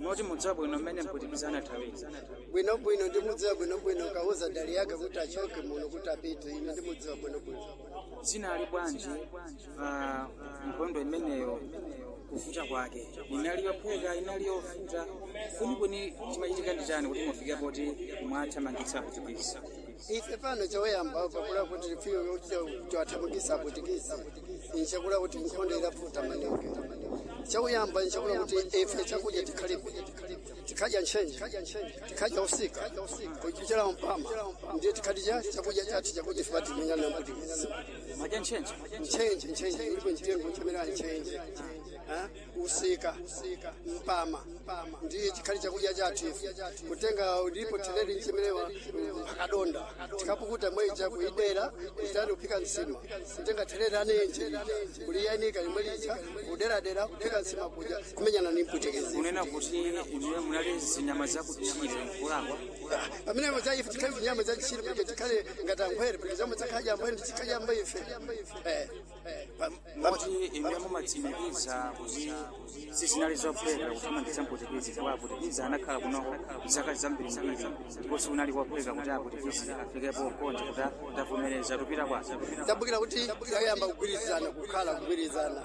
Moti mudziwa bwino mmene mpwitikizi anathawira? Bwinobwino, ndimudziwa bwinobwino. Kauza dali yake kuti achoke muno kuti apite, ine ndimudziwa bwinobwino. Zinali bwanji pa nkhondo imeneyo? Kuvuta kwake, inali yophweka, inali yovuta kwenikweni? Chimachitika ndi chani kuti mufike poti mwathamangitsa apwitikizi? Ife pano choyamba pakula kuti fiyo tiwathamangisa aputikisi, nchakula kuti nkhondo ilavuta maningi. Chakuyamba nchakula kuti ife chakudya tikhalibe, tikhadya ntchenje, tikhadya usika kuchera mpama, ndiye tikhadya chakudya chathu chakuti ife patimenyana na mputikisi. Madya ntchenje? Ntchenje, ntchenje ilipo, mtengo nchamera ntchenje, usika, mpama, ndiye chikhali chakudya chathu ife. Kutenga ndipo theleli nchemerewa akadonda, tikapukuta mweja kuidera itani kuphika nsima. Kutenga theleli anenje lija kuliyanika limwe lija kuderadera kuphika nsima kudya, kumenyana ni mputekezi. Kunena kuti inuyo munali zinyama zakutchire, nkulakwa? Pamene za ife tikhale zinyama za tchire kuti tikhale ngati ankhwere, kuti zomwe zakhalya amphwere ndichikhale amba ife. Moti inuyo mumatsimikiza kuti sizinali zophweka kuthamangitsa mpwitikizi, chifukwa apwitikizi anakhala kunoko zaka zambirimbiri, ndipo sikunali kophweka kuti apwitikizi afikepo konje kuti tavomereza tupita kwake? Tabukira kuti tayamba kugwirizana, kukhala kugwirizana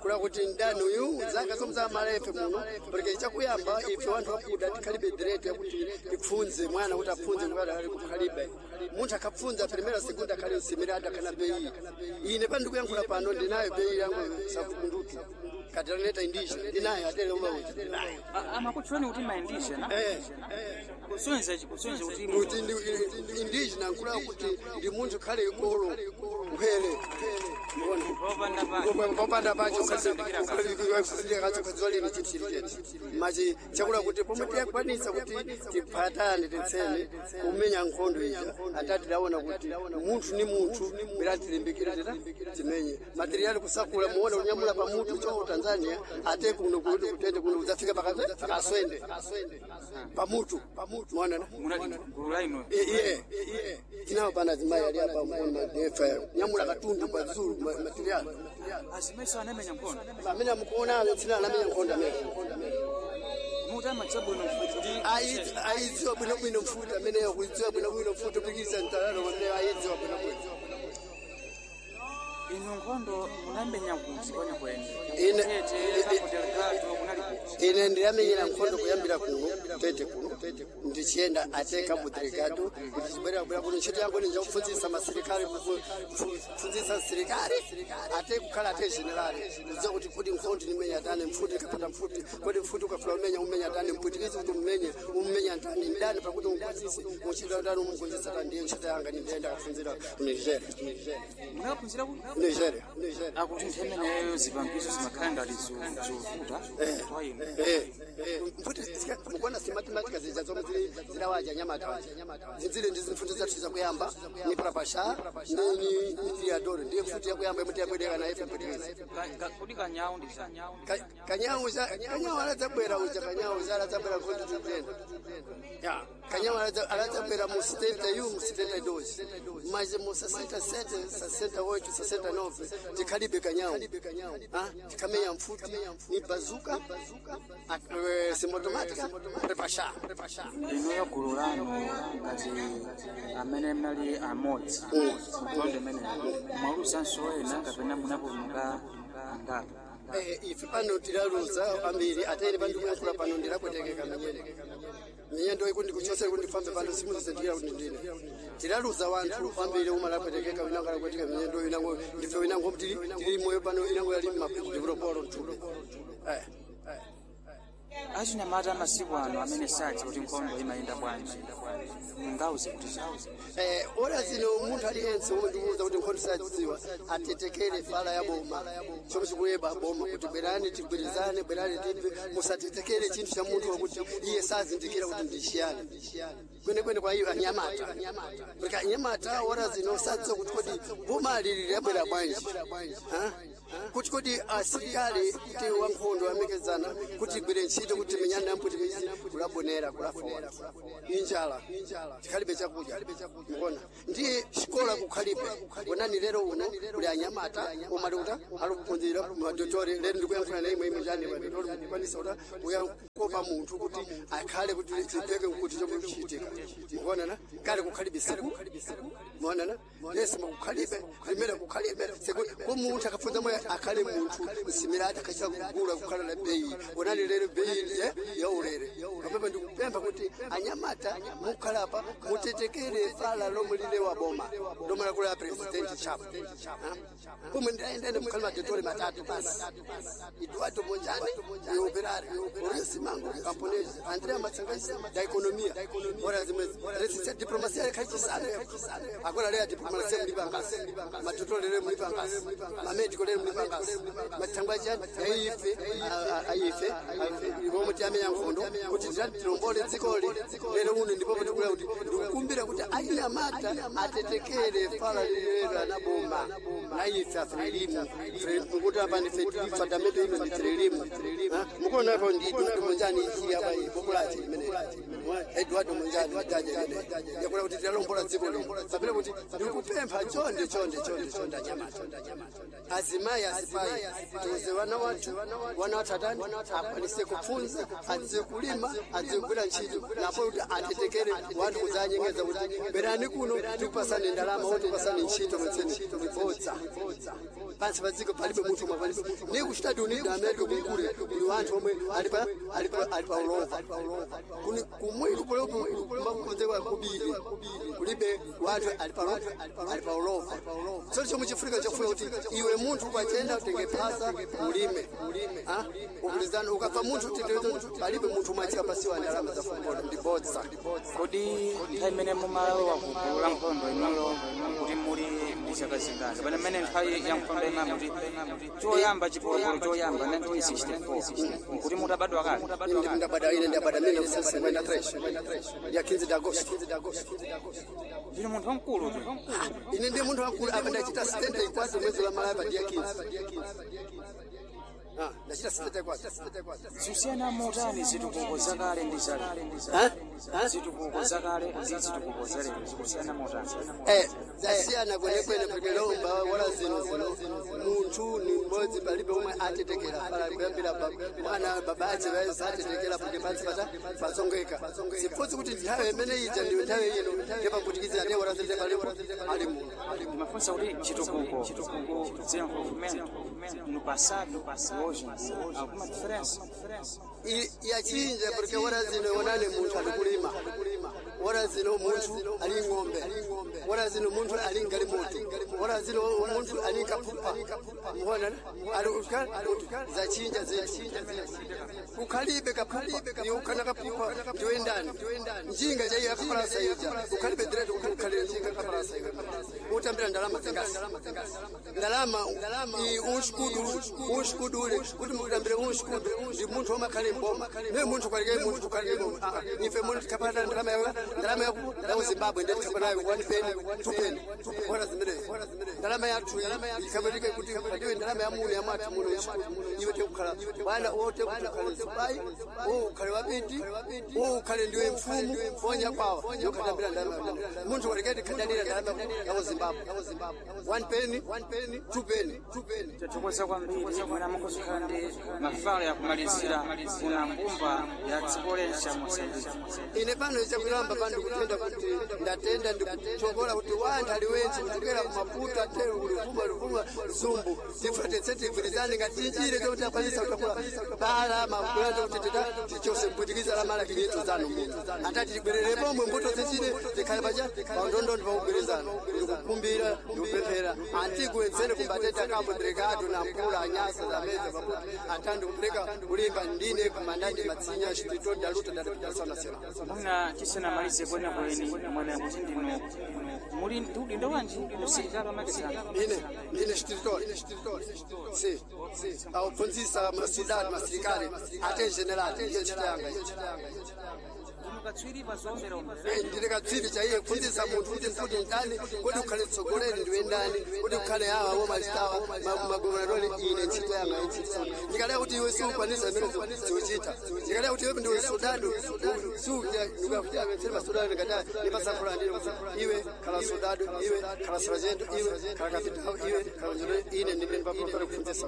kula kuti ndani uyu zaka zomwe zamala ife muno, porque chakuyamba ife wanthu wakuda tikhalibe direct yakuti tipfunze mwana kuti apfunze kuti ali kukhalibe munthu akapfunza primera, segunda, akhale msimira adakhana beyi. Ine pano ndikuyankhula pano ndinayo beyi yangu safunduki caderneta indígena ndinayo, atere umauti ndinayo. Amakutchulani kuti ma indígena? Eh. Kusonyeza kuti kuti indígena nkula kuti ndi munthu khale ikolo nkhwere. Popanda pake. Popanda pacho. Osazindikira kanthu. Kadziwa lini chinthu chili chete machi chakula kuti pomwe tiyakwanisa kuti tiphatane titsene kumenya nkhondo ija, atati tidaona kuti munthu ni munthu bwera tilimbikire tita timenye materiali kusakula muone kunyamula pa mutu cho Tanzania ate kuno kuti kutete kuno kudzafika pakati pakaswende pamutu muona. Munali gulu la inu? Iye tinawo pana azimayi ali apa mkono madefa nyamula katundu pazulu materiali. Azimayiso anamenya nkhondo? Amene amukuona tsina anamenya nkhondo amene. Muti amadziwa bwino mfuti kuti Ayidziwa bwinobwino mfuti ameneyo, kuidziwa bwinobwino mfuti kupikisa mtalalo ameneyo ayidziwa bwinobwino. Inu nkhondo munamenya kuti kwenikweni? Ine- Tete, Cabo Delgado, munali kuti? Ine ndiyamenyera nkhondo kuyambira kuno Tete kuno, ndichiyenda ate Cabo Delgado kuti chibwerera kubwera kuno. Ntchito yangu ninjakufunzisa masilikali, kufunzisa silikali ate kukhala ate generali, kudziwa kuti kodi nkhondo nimenya tani, mfuti ikapata mfuti, kodi mfuti ukafula umenya umenya tani, mpwitikizi kuti ummenye ummenya tani, ndani pakuti umphunzise muchita tani, umugonjetsa tani. Ndiye ntchito yanga, ndiyenda kafunzira ku Nigeria. Munakaphunzira ku Nigeria, Nigeria. Akuti nthawi imeneyo zipangizo zimakhala ngati zovuta kwa inu. Mfuti mukuona simathematika zija zomwe zili zilawaja nyamata zinzile ndi mfuti zathu zakuyamba ni prapasha ni triadoro, ndiye mfuti yakuyamba imwe tiyabwereka naye ife mpwitikizi. Kodi kanyawu ndi Kanyawu kanyawu aladzabwera uja, kanyawu uja aladzabwera nkhondo titenda ya kanyawu aladzabwera mu 71, mu 72, mas mu 67, 68, 69 tikhalibe kanyawu. Tikhamenya mfuti ni bazuka, simotomatika repasha. Inuyo gulu lanu ngati amene mnali amodzi nkhondo imeneyo, mwaluzanso ena kapena munapulumuka angapo? Ife pano tilaluza ambiri atene pandikuyankhula pano ndilakwetekeka minyendo minyendo ikundi kuchosera kuti ndifambe pano simuzizindikira kuti ndine tilaluza wanthu ambiri uma lakwetekeka, winango alakweteka minyendo, winango ndife, winango tili moyo pano, inango yali mapulopolo mthupi. Achinyamata amasiku ano amene sadziwa kuti nkhondo imayenda bwanji, mungauze kuti chani? Ora zino munthu aliyense womwe ndikuwuza kuti nkhondo sadziwa atetekere fala ya boma chomwe chikuyeba boma kuti bwerani tigwirizane, bwerani tiphe, musatetekere chinthu cha munthu wakuti iye sazindikira kuti ndi chiyani kwenekwene kwa iyo anyamata, porque anyamata ora zino sadziwa kuti kodi boma lili labwera bwanji. Ha? Kuti kodi asilikali kuti wankhondo amekezana kuti igwire ntchito kuti timenyana na Mputukezi kulabonera kulafa wanthu injala tikhalibe chakudya mukuona ndiye xikola kukhalibe onani lero uno kuli anyamata omwe ali kuta ali kuphunzira madotori lero ndikuyankhula naye imwe njani madotori kukwanisa kuta kuyakopa munthu kuti akhale kuti chipeke kuti chomwe chichitika mukuonana kale kukhalibe siku muonana lesi makukhalibe limene kukhalibe sekuti ko munthu akafunza moyo akhale munthu msimirati akachita kugula kukhala na beyi onani lero beyi ya ulere kapemba ndikupempha kuti anyamata mukhalapa mutetekere fala lomwe lile wa boma lomwe lakula president chapo pomwe ndaendene mukhale madotore matatu basi Eduardo Monjane e operário Ouriço Mango camponês André Matsangaisi da economia ora zimwe resistência diplomacia yakachisana agora leo diplomacia mulipangasi madotore lero mulipangasi mamedico lero mulipangasi matsangwa chani aife aife omwe tiyamenya nkhondo kuti tilombole dzikoli lero uno ndipo tikula kuti ndikukumbira kuti anyamata atetekere fala lilero anaboma naife afrelimu mukuti apa ndife tilifa ino ndi frelimu mukuona apo ndi Eduardo Monjani ichi apa bokulache limene Eduardo Monjani jaja limene yakula kuti tilombola dziko lino sapele kuti ndikupempha chonde chonde chonde chonde anyamata azimayi azipayi tiuze vana wathu wana wathu atani akwanise kupfunza adziwe kulima adziwe kugwira ntchito napo kuti atetekere wanthu kudzanyengeza kuti berani kuno tikupasani ndalama oti tikupasani ntchito mwetseni ndibodza pansi pa dziko palibe munthu umwe palibe ni ku Estados Unidos da America kunkule kuli wanthu omwe ali pa ali pa ali pa ulova kuni kumwiri kumakonzekwa kubiri kulibe wanthu ali pa ali pa ulova so chomwe chifrika chofuna kuti iwe munthu ukachenda utenge phasa ulime ukulizana ukapfa munthu titezo palibe munthu umwe achikapasiwa ndalama za fukola ndibodza. Kodi nthawi imene mumalowa ku gulu la nkhondo inuyo kuti muli ndi zaka zingati kapena mmene nthawi ya nkhondo imene kuti choyamba chipolopolo choyamba 1964 kuti mutabadwa kale? Ndabada ine ndabada 1953 ya 15 de agosto. Ndinu munthu wamkulu tu. Ine ndi munthu wamkulu apa ndachita 74 mwezi wa Malapa dia 15. Ndachita 74. Zisiyana motani zitukuko zakale ndi zalero? Zitukuko zakale ndi zitukuko zalero zikusiyana motani? Zasiyana kwenekwene kuti lomba wala zino zino munthu ni mmodzi palibe omwe atetekera pala kuyambira mwana baba ache atetekera kuti pansi pata pasongeka sipodzi kuti nthawi imene ija ndiyo nthawi ino ndepamputikizira ndiye wala zine palipo ali muno. Ndimafunsa kuti chitukuko desenvolvimento no passado hoje alguma diferença? Yachinja porque wala zino onane munthu ali kulima wala zino munthu ali ng'ombe wala zino munthu ali ngalimoto wala zino munthu ali kapupa muona ali zachinja zinthu ukhalibe kapupa ni ukhana kapupa ndiwe ndani njinga chaiyo yakaparasa ija ukhalibe direct kuti ukhalire njinga kaparasa iwe utambira ndalama zingasi ndalama iyi unshikudu unshikudule kuti mutambire unshikudu ndi munthu womakhale mboma ne munthu kwalike munthu kukalike mboma ife munthu tikapata ndalama yawo ndalama yaku ya Zimbabwe ndiye tikapata nayo 1 penny 2 penny bora zimerezi ndalama yathu ikabatike kuti ndiwe ndalama ya muno ya mwathu muno iwe tekukhala bwana wote kuti ukhale sipai ukhale wabiti ukhale ndiwe mfumu ponya kwawa yokatambira ndalama munthu walikati kadalira ndalama ya Zimbabwe 1 penny 2 penny 2 penny. Tathokoza kwambiri mwina mukuzikhala ndi mafala yakumalizira kuna mbumba ya dziko lense ya Mosambiki. Ine pano chakulamba pano ndikutenda kuti ndatenda ndikuchokola kuti wanthu aliwense kuchokera kumaputo atero kulivuma livuma zumbu tifate tigwirizane ngati tinjire chokuti akwanisa kutakula bala makulanda kuti tita tichose mpwitikiza la mala kinyeto zanu muno atati tibwerere pomwe mbuto zichire tikhale pacha paundondondo pakugwirizana ndikukumbira ndikupemphera antiguwenzene kumbateta kambo delegado na mpula anyasa zameze pakuti atandi kupereka kulimba ndine kumandandi matsinya chitito daluta da nacional. Mwina tisanamalize kwenikweni mwene kuti ndinu muli ndi udindo wanji usilikali wamakedzana? Ine ndine chititoli si auphunzisa masoldati masilikali ate general ndiye ntchito yanga. Ndine katswiri chaiye kufunzisa munthu kuti mfuti ndani, kuti ukhale mtsogoleri ndiwe ndani, kuti ukhale awa womachitawa magovernatori. Ine ntchito yanga ntchito ndikaleka kuti iwe siukwanisa imene ziuchita, ndikaleka kuti iwe ndiwe soldado siukafutia masodado, ndikati ndipasankhula ndine kuti iwe khala soldado, iwe khala sargento, iwe khala kapitao, iwe khala njolo. Ine ndimene ndipapulopera kufunzisa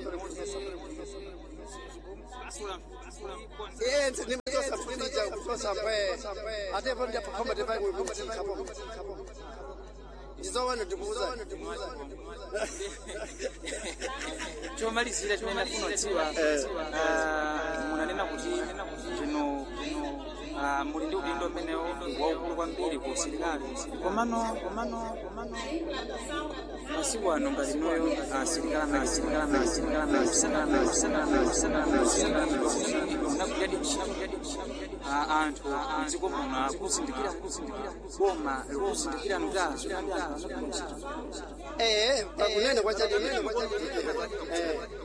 enze nimtosa mfundija kutosa mpwe atepo ndiyapakhoma tepaikuchikapo ndizowana ndikuuza. Chomalizira chimene ndafuna kudziwa, munanena kuti ndino muli ndi udindo umenewo waukulu kwambiri ku usilikali, komano masiku ano ngati noyo asilikali asilikali asilikali asilikali asilikali asilikali munagwiradi ntchito, anthu mdziko muno akuzindikira, boma likuzindikira kuti anthu anagwira ntchito? Pakunena kwachati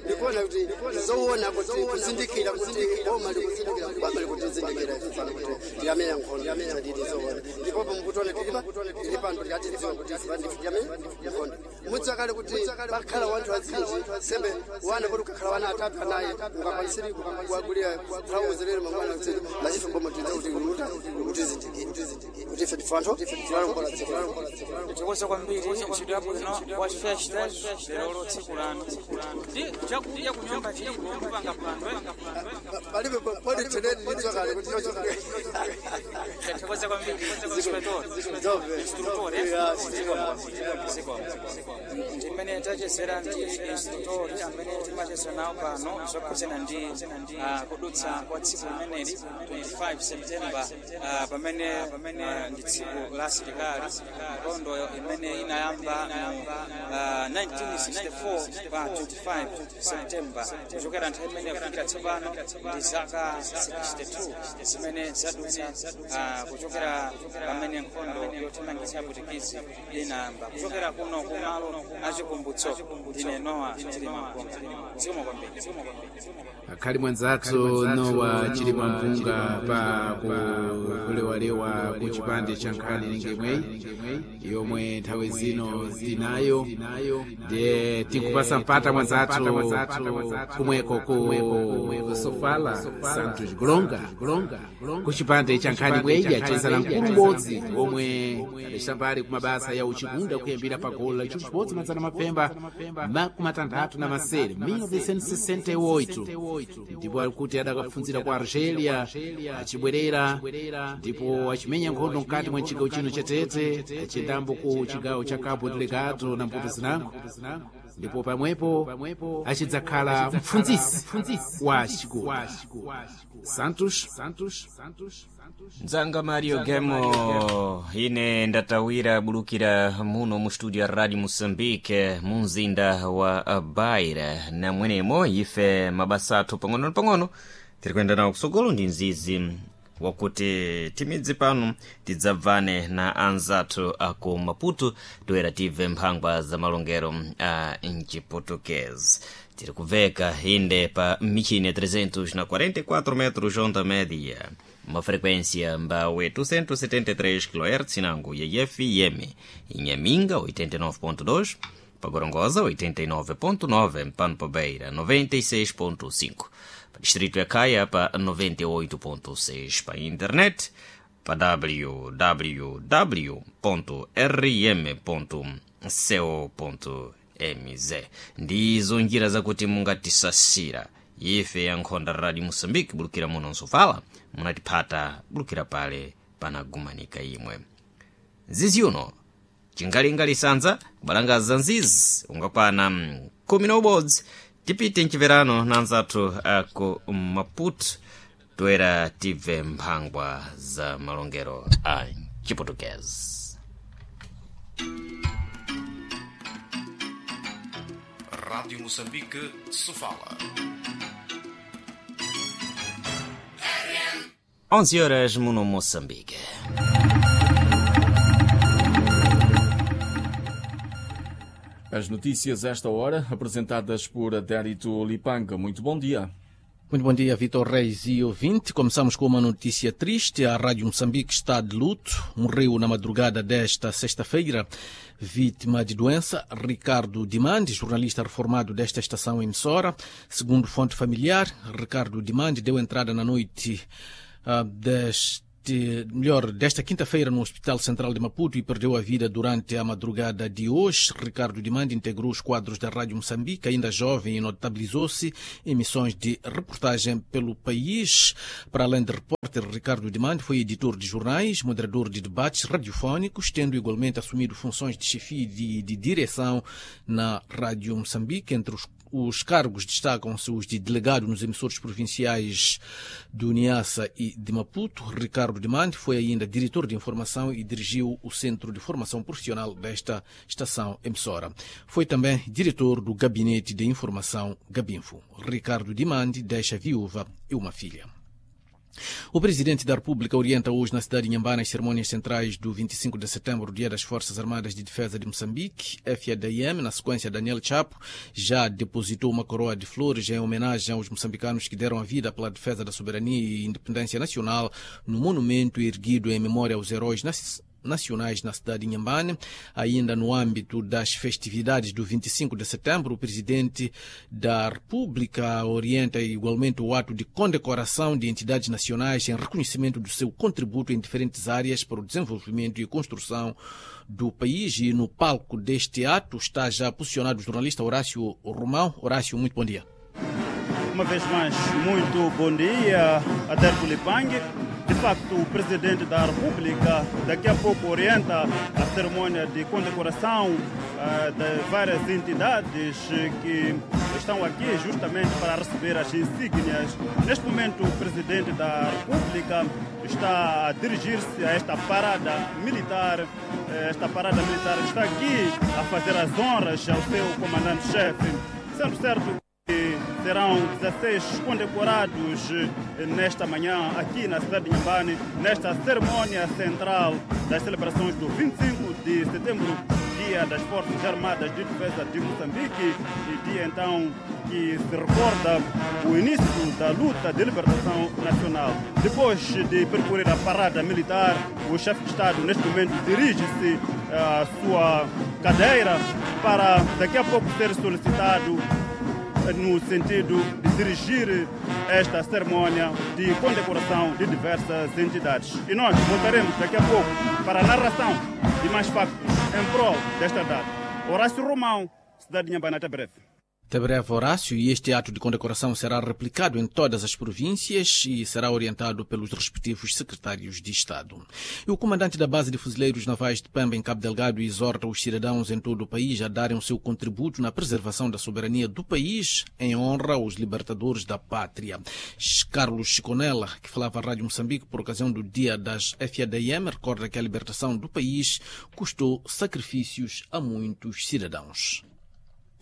ndikuona kuti zoona kuti kuzindikira kuti boma likuzindikira, boma likutizindikira ife pano kuti tiyamenya nkhondo tadidi zoona. Ndipo mukutiona tilipa tili pano tikati tidziwa kuti ife pandife tiyamenya nkhondo. Mudziwa kale kuti pakhala wanthu azinji sembe wana kuti ukakhala wana atatu anayi ungakwanisiri kuwagulira trauzi lero mangwana kuti machife boma tidza kuti kutizindikira kuti ife ndife anthu tilalongola dziko. Tikoza kwambiri, ntchito yabwino wa festa lero tsiku lanu ndi chakudya kunyumba chilipo kupanga phwando? Palibe podi teneni ndidziwa kale kuti chocho. Tikoza kwambiri, inspector, instructor. Ndimene tachezera ndi instructor amene timachezera nawo pano zokhudzana ndi kudutsa kwa tsiku limeneli 25 September, pamene ndi tsiku la asilikali, nkhondo imene inayamba mu 1964 pa 25 September. Kuchokera nthawi imene kufikira tsopano ndi zaka 62 zimene zadutsa kuchokera pamene nkhondo yothamangitsa Aputikisi inayamba. Kuchokera kuno kumalo achikumbutso, ndine Nowa Chilima Mpunga. Zikomo kwambiri. Akhali mwanzathu Nowa Chilima Mpunga pa kulewalewa ku chipande cha nkhani ningemweyi yomwe nthawi zino tinayo, ndiye tinkupasa mpata mwanzathu kumweko ku Sofala Santos Golonga ku chipande cha nkhani bweyi achezera mkulu m'bodzi omwe adacitambali ku mabasa ya uchikunda kuyambira pa golo la chimodzi madzana mapemba makumi atanthatu na masere 1968, ndipo alikuti adakapfunzira ku Argelia, achibwerera ndipo achimenya nkhondo mkati mwa chigawo chino cha Tete, achiyendambo ku chigawo cha Cabo Delgado na mputo zinango, ndipo pamwepo achidzakhala mpfunzisi wa chikunda Santos. Mdzanga Mario Gemo, ine ndatawira bulukira muno mu studio ya Radio Moçambique mu mzinda wa Beira, na mwenemo ife mabasa athu pang'ono pang'ono tiri kuyenda nawo kusogolo ndi mzizi wakuti timidzi pano tidzabvane na anzathu aku Maputo toera tibve mphangwa za malongero a mchiputukezi. Tiri kubveka inde pa michini ya 344 metros onda média, uma frequência mbawe 273 kHz nango ya FM Inhaminga 89.2, pa Gorongosa 89.9, mpano pa Beira 96.5, pa distrito ya Caia pa 98.6, pa internet pa www.rm.co.mz. Ndizo njira zakuti mungatisasira ife ya nkhonda Radio Moçambique bulukira muno nsofala munatiphata bulukira pale panagumanika imwe nzizi uno chingalinga lisanza kubalangaza nzizi ungakwana 11 tipite mchiverano na anzathu aku Maputo toera tibve mphangwa za malongero a chiputukezi. Rádio Moçambique, Sofala. 11 horas muno Moçambique. As notícias esta hora, apresentadas por Adérito Lipanga. Muito bom dia. Muito bom dia, Vitor Reis e ouvinte. Começamos com uma notícia triste. A Rádio Moçambique está de luto. Morreu na madrugada desta sexta-feira, vítima de doença, Ricardo Dimande, jornalista reformado desta estação emissora. Segundo fonte familiar, Ricardo Dimande deu entrada na noite desta quinta-feira no Hospital Central de Maputo e perdeu a vida durante a madrugada de hoje. Ricardo Dimande integrou os quadros da Rádio Moçambique, ainda jovem, e notabilizou-se em missões de reportagem pelo país. Para além de repórter, Ricardo Dimande foi editor de jornais, moderador de debates radiofónicos, tendo igualmente assumido funções de chefia e de direção na Rádio Moçambique. Entre os cargos destacam-se os de delegado nos emissores provinciais do Niassa e de Maputo. Ricardo Dimande foi ainda diretor de informação e dirigiu o Centro de Formação Profissional desta estação emissora. Foi também diretor do Gabinete de Informação Gabinfo. Ricardo Dimande deixa viúva e uma filha. O Presidente da República orienta hoje na cidade de Inhambane as cerimônias centrais do 25 de setembro, Dia das Forças Armadas de Defesa de Moçambique, FADM. Na sequência, Daniel Chapo já depositou uma coroa de flores em homenagem aos moçambicanos que deram a vida pela defesa da soberania e independência nacional no monumento erguido em memória aos heróis nacionais na cidade de Inhambane. Ainda no âmbito das festividades do 25 de setembro, o Presidente da República orienta igualmente o ato de condecoração de entidades nacionais em reconhecimento do seu contributo em diferentes áreas para o desenvolvimento e construção do país. E no palco deste ato está já posicionado o jornalista Horácio Romão. Horácio, muito bom dia. Uma vez mais, muito bom dia, Adelfo Lipangue. De facto, o Presidente da República daqui a pouco orienta a cerimônia de condecoração de várias entidades que estão aqui justamente para receber as insígnias. Neste momento, o Presidente da República está a dirigir-se a esta parada militar. Esta parada militar está aqui a fazer as honras ao seu comandante-chefe. Sendo certo que serão 16 condecorados nesta manhã aqui na cidade de Inhambane, nesta cerimônia central das celebrações do 25 de setembro, Dia das Forças Armadas de Defesa de Moçambique, e dia então que se recorda o início da luta de libertação nacional. Depois de percorrer a parada militar, o chefe de Estado neste momento dirige-se à sua cadeira para daqui a pouco ser solicitado no sentido de dirigir esta cerimônia de condecoração de diversas entidades. E nós voltaremos daqui a pouco para a narração de mais factos em prol desta data. Horácio Romão, cidade de Inhambane, até breve. Até breve, Horácio, e este ato de condecoração será replicado em todas as províncias e será orientado pelos respectivos secretários de Estado. E o comandante da base de fuzileiros navais de Pemba, em Cabo Delgado, exorta os cidadãos em todo o país a darem o seu contributo na preservação da soberania do país em honra aos libertadores da pátria. Carlos Chiconella, que falava à Rádio Moçambique por ocasião do Dia das FADM, recorda que a libertação do país custou sacrifícios a muitos cidadãos.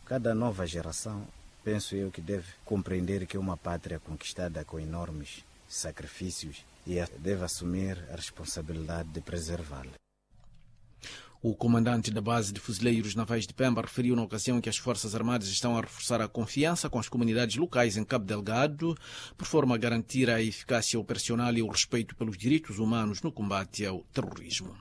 Cada nova geração, penso eu, que deve compreender que é uma pátria conquistada com enormes sacrifícios e deve assumir a responsabilidade de preservá-la. O comandante da base de fuzileiros navais de Pemba referiu na ocasião que as Forças Armadas estão a reforçar a confiança com as comunidades locais em Cabo Delgado, por forma a garantir a eficácia operacional e o respeito pelos direitos humanos no combate ao terrorismo.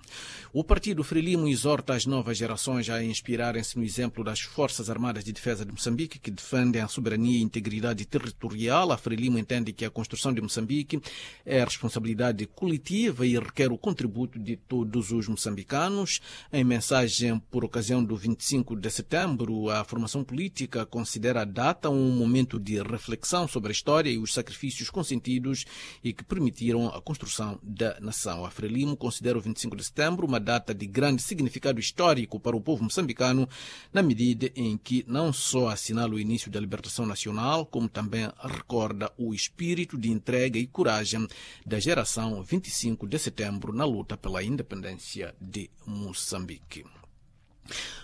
O partido Frelimo exorta as novas gerações a inspirarem-se no exemplo das Forças Armadas de Defesa de Moçambique, que defendem a soberania e integridade territorial. A Frelimo entende que a construção de Moçambique é responsabilidade coletiva e requer o contributo de todos os moçambicanos. Em mensagem por ocasião do 25 de setembro, a formação política considera a data um momento de reflexão sobre a história e os sacrifícios consentidos e que permitiram a construção da nação. A Frelimo considera o 25 de setembro uma data de grande significado histórico para o povo moçambicano, na medida em que não só assinala o início da libertação nacional, como também recorda o espírito de entrega e coragem da geração 25 de setembro na luta pela independência de Moçambique.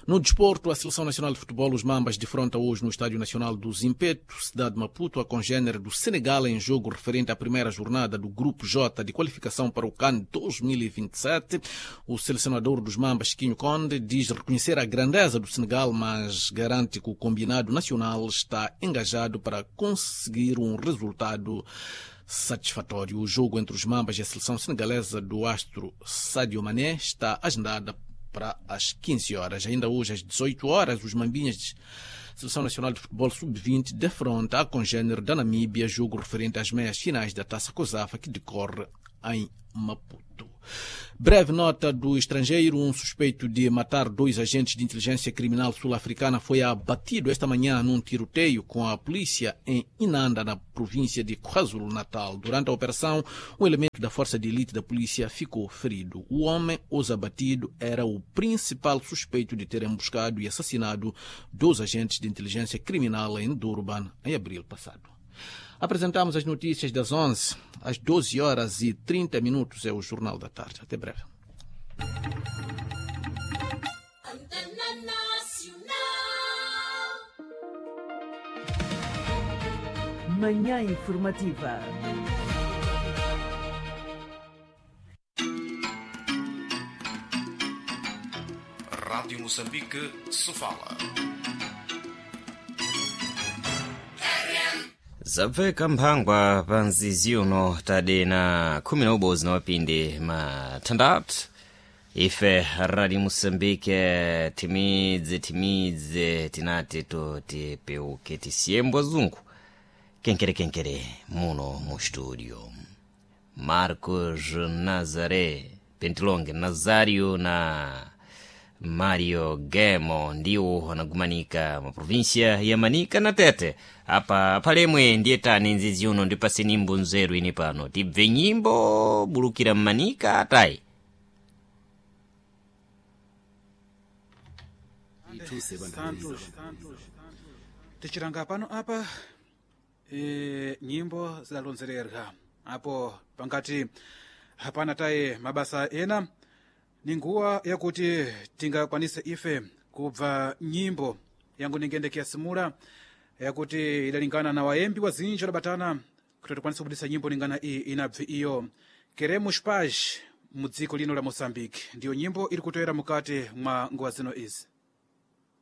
No desporto, a Seleção Nacional de Futebol, os Mambas, defronta hoje no Estádio Nacional do Zimpeto, cidade de Maputo, a congênere do Senegal em jogo referente à primeira jornada do Grupo J de qualificação para o CAN 2027. O selecionador dos Mambas, Quinho Conde, diz reconhecer a grandeza do Senegal, mas garante que o combinado nacional está engajado para conseguir um resultado satisfatório. O jogo entre os Mambas e a seleção senegalesa do astro Sadio Mané está agendada para as 15 horas. Ainda hoje, às 18 horas, os Mambinhas de Seleção Nacional de Futebol Sub-20 defronta a congênere da Namíbia, jogo referente às meias finais da Taça COSAFA, que decorre em Maputo. Breve nota do estrangeiro: um suspeito de matar dois agentes de inteligência criminal sul-africana foi abatido esta manhã num tiroteio com a polícia em Inanda, na província de KwaZulu-Natal. Durante a operação, um elemento da força de elite da polícia ficou ferido. O homem, os abatido, era o principal suspeito de ter emboscado e assassinado dois agentes de inteligência criminal em Durban em abril passado. Apresentamos as notícias das 11 às 12 horas e 30 minutos. É o Jornal da Tarde. Até breve. Manhã Informativa. Rádio Moçambique, Sofala. Zabveka mphangwa pa mzizi uno tadena khumi na ubodzi na mapindi mathandathu. Ife Radio Moçambique timidze timidze tinati to tipeuke tisiyembo azungu kenkerekenkere muno mu studio. Marcos Nazaré Pentilonge Nazario na Mario Gemo ndiwo anagumanika ma província ya Manica na Tete. Apa palemwe ndiye tani nzizi uno ndipase nyimbo nzeru ini pano tibve nyimbo bulukira mmanika atayi. Santos tichiranga pano apa nyimbo zidalonzererwa apo pangati hapana taye mabasa ena ni nguwa yakuti tingakwanise ife kubva nyimbo yangu ningendekea simula yakuti idalingana na waembi wazinji wadabatana kuti tikwanise kubudisa nyimbo lingana iyi inabve iyo Queremos Paz mudziko lino la Moçambique. Ndiyo nyimbo iri kutoera mukati mwa nguwa zino izi.